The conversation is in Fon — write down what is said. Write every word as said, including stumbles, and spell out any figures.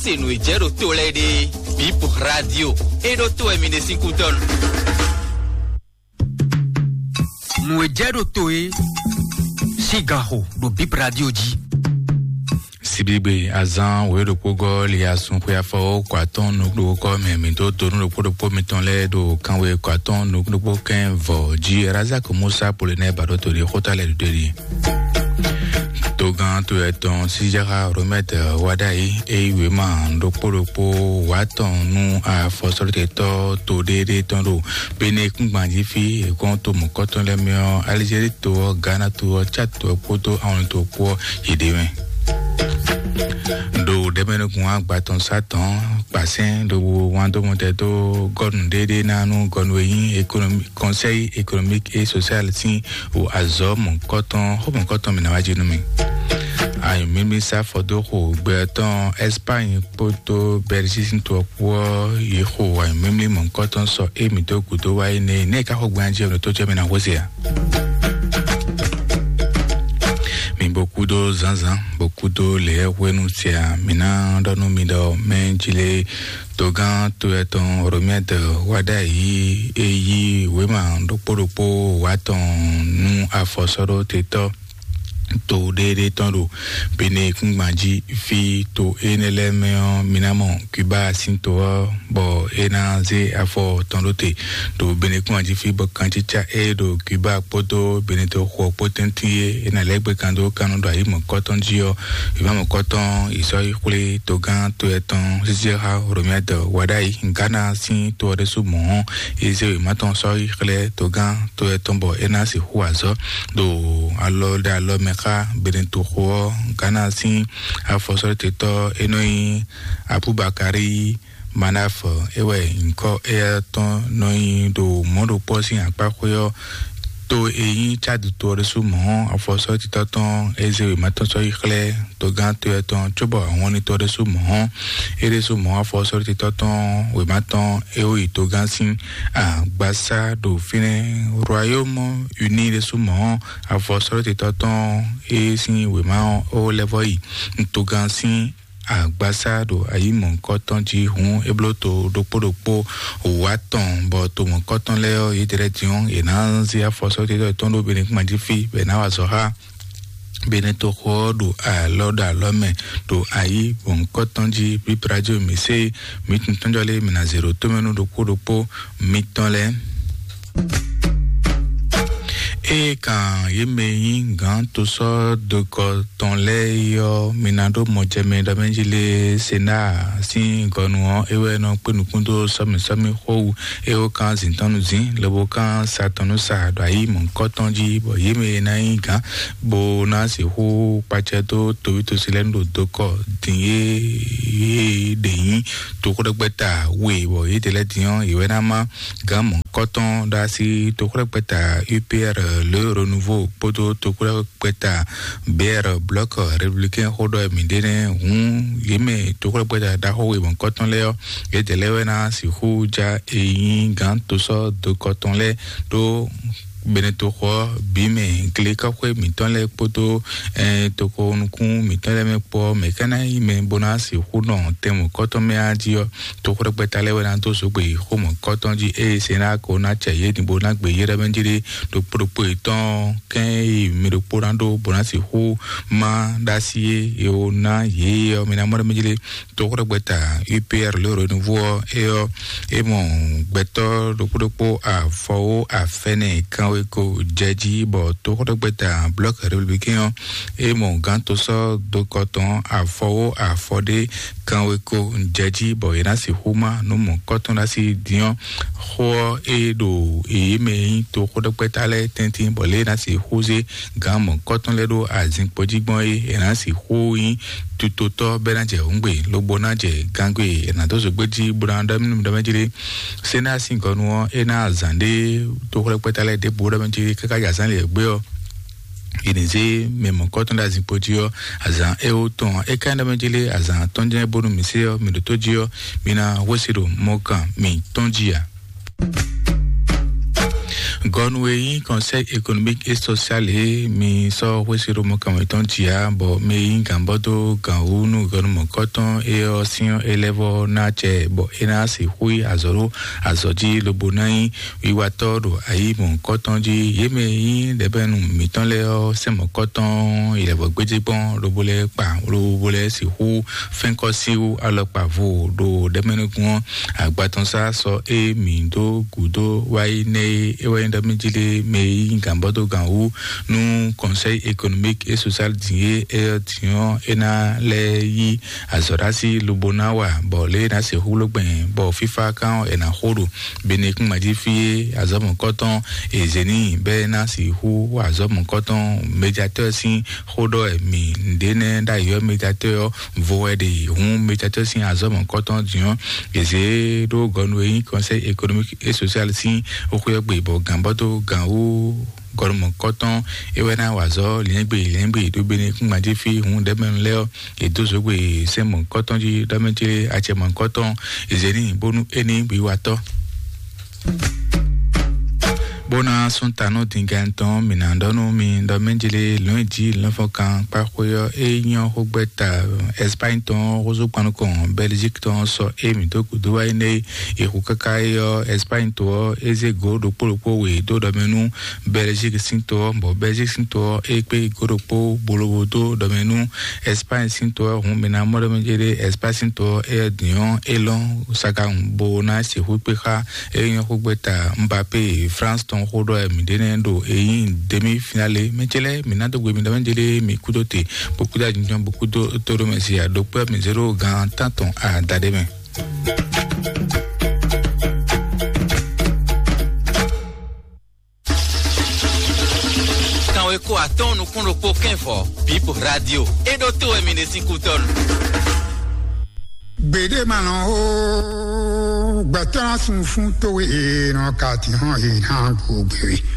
Se nǔ e jɛ ɖo to lɛ́ɛ ɖe, Bip Radio, e ɖo to wɛ mi ɖe sín kútɔ́ nu. Nǔ e jɛ ɖo to e sín ganxo ɖo Bip Radio jí. Sibigbe azán wǒ ɖokpó gɔ́ li asun xwe afɔ kɔ atɔ́n nukúnɖokpó mɛ mǐ dó donu ɖokpó ɖokpó mitɔn lɛ́ɛ ɖo kanwe kɔ atɔ́n nukúnɖokpó kɛn vɔ jí Razak Musa Polonɛ baɖo to ɖi xóta lɛ́ɛ ɖo ɖi. Togán to yɛ tɔn Sijaxa Romɛt Wadayi e yí wěma ɖokpó ɖokpó wǎ tɔn nú afɔsɔ́ɖótɛtɔ́ to ɖéɖé tɔn ɖo Benekúngban jí fí e gɔ́n to mɔ̌kɔtɔn lɛ́ɛ mɛ ɔ́, Alizéri to ɔ́, Gana to ɔ́, Cát to ɔ́ kpódó Awɔnlin to kpó ɔ́, yě ɖ'é mɛ. Ɖo ɖɛ̌mɛnukun agba tɔn sá tɔn kpasɛ́n ɖo wǎn dó mɔtɛ dó gɔ́nu ɖéɖé ná nú gɔ́nu e nyí économie, Conseil économique et social sín o azɔ̌ mɔ̌kɔtɔn xó mɔ̌kɔtɔn mǐ ná wá jí nú mì. Ayǐmímí sá fɔ dó xo gbɛ tɔn Espagne kpódó Belgique sín to ɔ́ kpó ɔ́, yě xo ayǐmímí mɔ̌kɔtɔn sɔ émí dó gǔdo wá yi nɛ nɛ́ ká xo gbɛn jí ɔ́ tó jẹ́ mì ná xwé se ǎ. Mi bo kúdó zǎnzǎn, bo kúdó lě hwenu sia mǐ ná ɖɔ nú mi ɖɔ mɛ jí lé togán to etɔn Romɛd Wadayi e yí wěma ɖokpó ɖokpó wá tɔn nú afɔsɔ́ɖótetɔ́ to ɖéɖé tɔn ɖo Benekúngban jí fí. To énɛ́ lɛ́ɛ mɛ ɔ́, mi ná mɔ Cuba sín to ɔ́, bɔ é ná zé afɔ tɔn ɖó te ɖo Benekúngban jí fí, bɔ kancícá e ɖo Cuba kpódó Benetoxo ɔ́ kpó tɛ́ntin e é ná lɛ́ gbé kan dó kannú ɖo ayǐ mɔ̌kɔtɔn jí ɔ́, wěma mɔ̌kɔtɔn yi sɔ́ yi xwlé togán to etɔn Sizeha Romɛd Wadayi Gana sín to ɔ́ ɖésú mɔ̌ ɔ́, é zé wěma tɔn sɔ́ yi xlɛ́ togán to etɔn bɔ é ná sixú azɔ̌ ɖo alɔ ɖe alɔ mɛ xá Benetoxo ɔ́. Gana sín afɔsɔ́ɖótetɔ́ e nɔ nyí Abubakari Manaf é wɛ nyǐkɔ éyɛ́ tɔn nɔ nyi ɖo mɔ̌ ɖokpɔ́ sín akpáxwé ɔ́. To e nyí Cad to ɔ́ ɖésú mɔ̌ ɔ́, afɔsɔ́ɖótetɔ́ tɔn é zé wěma tɔn sɔ́ yi xlɛ́ togán to etɔn cóbɔ ahɔnni to ɔ́ ɖésú mɔ̌ ɔ́, é ɖésú mɔ̌ afɔsɔ́ɖótetɔ́ tɔn wěma tɔn é wó yi togán sín agbasá ɖo fínɛ́. Royaume Uni ɖésú mɔ̌ ɔ́, afɔsɔ́ɖótetɔ́ tɔn é sín wěma ɔ́ ó lɛ́ vɔ yi togán sín agbasá ɖo ayǐ mɔ̌hunkɔtɔn jí hǔn é bló to ɖokpó ɖokpó wǒ atɔn, bɔ to mɔ̌hunkɔtɔn lɛ́ɛ ɔ́, yědɛɛ lɛ́ɛ din ɔ́, yě ná zé afɔsɔ́ tɔn ɖó Benekúngban jí fí, bɔ è nǎ wa azɔ̌ xá Benetoxo ɔ́ ɖo alɔ ɖo alɔ mɛ ɖo ayǐ mɔ̌hunkɔtɔn jí. Bíblájú mǐ sé mǐ tɔn jɔ lé mǐ ná zě ɖo tómɛ nú ɖokpó ɖokpó mitɔn lɛ́ɛ. Ée kan yě mɛ e nyí gǎn tosɔ́ dokɔ tɔn lɛ́ɛ é ɔ́, mi ná ɖó mɔjɛmɛ ɖɔ mɛ jí lé Senáa sín gɔnu ɔ́, é wɛ nɔ kpé nukún dó sɔ́mǐsɔ́mí xó wú, é wó kán zǐntɔ́nnuzǐn, lobo kán satɔnnúsa ɖo ayǐ mɔ̌hunkɔtɔn jí, bɔ yě mɛ e ná nyí gǎn bó ná sixú kpacɛ dó toví tosi lɛ́ɛ nú ɖo dokɔ din e yě ɖe nyí toxóɖɛgbɛ́ta we, bɔ yědɛɛ lɛ́ɛ din ɔ́, yě wɛ ná má gǎn mɔ̌hunkɔtɔn ɖo así toxóɖɛgbɛ́ta U P R Le Renouveau kpódó toxóɖɛgbɛ́ta B R Bloc Républicain xó ɖɔ mǐ ɖe nɛ́ hǔn, yě mɛ toxóɖɛgbɛ́ta ɖaxó we mɔ̌hunkɔtɔn lɛ́ɛ ɔ́, yědɛɛ lɛ́ɛ wɛ ná sixú ja e nyí gǎn tosɔ́ dokɔ tɔn lɛ́ɛ ɖó Benetoxo ɔ́ bǐ mɛ, glekɔ́xwé mǐtɔn lɛ́ɛ kpódó, eh, toxo nukún mǐtɔn lɛ́ɛ mɛ kpó ɔ́, mɛ̌ ka ná nyí mɛ bó ná sixú nɔ tɛn mɔ̌hunkɔtɔn mɛ a jí ɔ́, toxóɖɛgbɛ́ta lɛ́ɛ wɛ ná dó zǒgbé xó mɔ̌hunkɔtɔn jí, ée se ná ko ná cɛ yě din bó ná gbe yě ɖɔ mɛ jí ɖé ɖokpó ɖokpó yětɔn kɛ́n e mi ɖokpó ná ɖó bó ná sixú má ɖó así é, è wǒ ná yě ɔ́, mi ná mɔ ɖɔ mɛ jí ɖé. Toxóɖɛgbɛ́ta U P R Le Renouveau ɔ́, é ɔ́, é mɔ gbɛtɔ́ ɖokpó ɖokpó afɔwó afɛnɛ kanweko jɛ jí, bɔ toxóɖɛgbɛ́ta Bloc Républicain ɔ́, é mɔ gǎn tosɔ́ dokɔ tɔn afɔwó afɔɖé kanweko jɛ jí, bɔ yě ná sixú má nǔ mɔ̌hunkɔtɔn ɖo así din ɔ́, xó ɔ́ é ɖo yě mɛ e nyí toxóɖɛgbɛ́ta lɛ́ɛ tɛ́ntin, bɔ lě e é ná sixú zé gǎn mɔ̌hunkɔtɔn lɛ́ɛ ɖó azinkpo jí gbɔn é, è nǎ sixú nyí tutotɔ́ bɔ é ná jɛ hǔngbe, lobo ná jɛ gangbé, è nǎ dó zǒgbé jí bó ná ɖɔ mɛ jí ɖé. Senáa sín gɔnu ɔ́, é ná azǎn ɖé toxóɖɛgbɛ́ta lɛ́ɛ ɖěbǔ ɖɔ mɛ jí káká yi azǎn lě gbé ɔ́, è nǐ zé mɛ mɔ̌hunkɔtɔn ɖo azinkpo jí ɔ́, azǎn éwo tɔn ɔ́, é ka nyí ɖɔ mɛ jí lé azǎn atɔ́ɔ́n jɛ́n bónú mǐ se ɔ́, mǐ ɖótó jí ɔ́, mi ná hwesí ɖo mɔ̌kan mǐtɔn jí ǎ. Gɔnu e nyí Conseil économique et social e mi sɔ́ xwésí ɖo mɔkànmɛ tɔn jia bɔ mɛ e nyí gǎnbɔ́ dó gǎn wú nú gɔnu mɔ̌kɔtɔn é ɔ́ sín élève ɔ́ ná acɛ bɔ é ná sixú yi azɔ̌ ɖo azɔ̌ jí lobo ná nyí wiwatɔ́ ɖo ayǐ mɔ̌kɔtɔn jí. Yě mɛ e nyí ɖɛ̌bɛ́nu mǐtɔn lɛ́ɛ ɔ́ sɛ́n mɔ̌kɔtɔn yi lɛ̌vɔ́ gbéjé gbɔn lobo lɛ́ɛ kpa lobo lɛ́ɛ sixú fɛ́nkɔ́ síwú alɔkpa vo ɖo ɖɛ̌mɛnúgbɔn ɔ́. Agbatɔnsá sɔ e mǐ dó gǔdo wá yi nɛ́ e é wɛ nyí ɖɔ mí jí lé mɛ e nyí gǎnbɔ́dógǎn wú nú Conseil économique et social din e é ɔ́ din ɔ́ é ná lɛ́ yí azɔ̌ɖásí lobo ná wa bɔ lě e ná sixú ló gbɛn bɔ fífá kán ɔ́ è nǎ xo ɖo Benekún mají fí e azɔ̌ mɔ̌kɔtɔn è zě n'i bɔ é ná sixú wa azɔ̌ mɔ̌kɔtɔn médiatɔ́ sín xó ɖɔ wɛ mǐ ɖě nɛ́ ɖ'ayǐ ɔ́ médiatɔ́ ɔ́ vo wɛ ɖe hǔn médiatɔ́ sín azɔ̌ mɔ̌kɔtɔn din ɔ́ è zě ɖó gɔnu e nyí Conseil économique et social sín xóxó ɔ́ gbe bɔ gǎnbɔ́ dó gǎn wú gɔnu mɔ̌kɔtɔn é wɛ ná wa azɔ̌ lǐɛ́ngbè lǐɛ́ngbè ɖó Benekún mají fí hǔn ɖɛ̌mɛnu lɛ́ɛ ɔ́ è dó zǒgbè sɛ́n mɔ̌kɔtɔn jí ɖɔmɛjlé acɛ mɔ̌kɔtɔn è zě n'i bónú é ní bǐ wa tɔ́. Bó ná sún ta nú dingɛn tɔn mǐ ná ɖɔ nú mi ɖɔ mɛjlé lɔ̌nyijǐ lɔ́nfɔkan kpáxwé ɔ́ é nyɔ́ xógbɛ́ta Espagne tɔn xózúgbannukɔn Belgique tɔn sɔ é mǐ dó gǔdo wá énɛ́ é xu káká é ɔ́ Espagne to ɔ́ é zé gǒ ɖokpó ɖokpó we dó ɖɔ mɛ nú Belgique sín to ɔ́ bɔ Belgique sín to ɔ́ é kpé gǒ ɖokpó bolobo dó ɖɔ mɛ nú Espagne sín to ɔ́ hǔn mǐ ná mɔ ɖɔ mɛ jɛ ɖé Espagne sín to ɔ́ é din ɔ́ é lɔ́n sagahun bó ná sixú kpé xá é nyɔ́ xógbɛ́ta Mbappé France tɔn xó ɖɔ mǐ ɖé nɛ́ ɖo é nyí demi finale mɛ ce lɛ́ɛ mǐ ná dó gbe mi ɖɔ mɛ jɛ ɖé mi kúdó te bó kúdó ajínjɔ́n bó kúdó tóɖó mɛ si aɖokpé mi zéro gan tántɔn adaɖé mɛ. Kanwe ko atɔn nukún ɖokpó kɛnvɔ Bib Radio. E ɖo to wɛ mi ɖe sín kútɔnu. Gběɖé ma nɔ ó, gbɛtɔ́ ná sun fún towe e nɔ ka tǐ hɔn e ná gbo gbé we.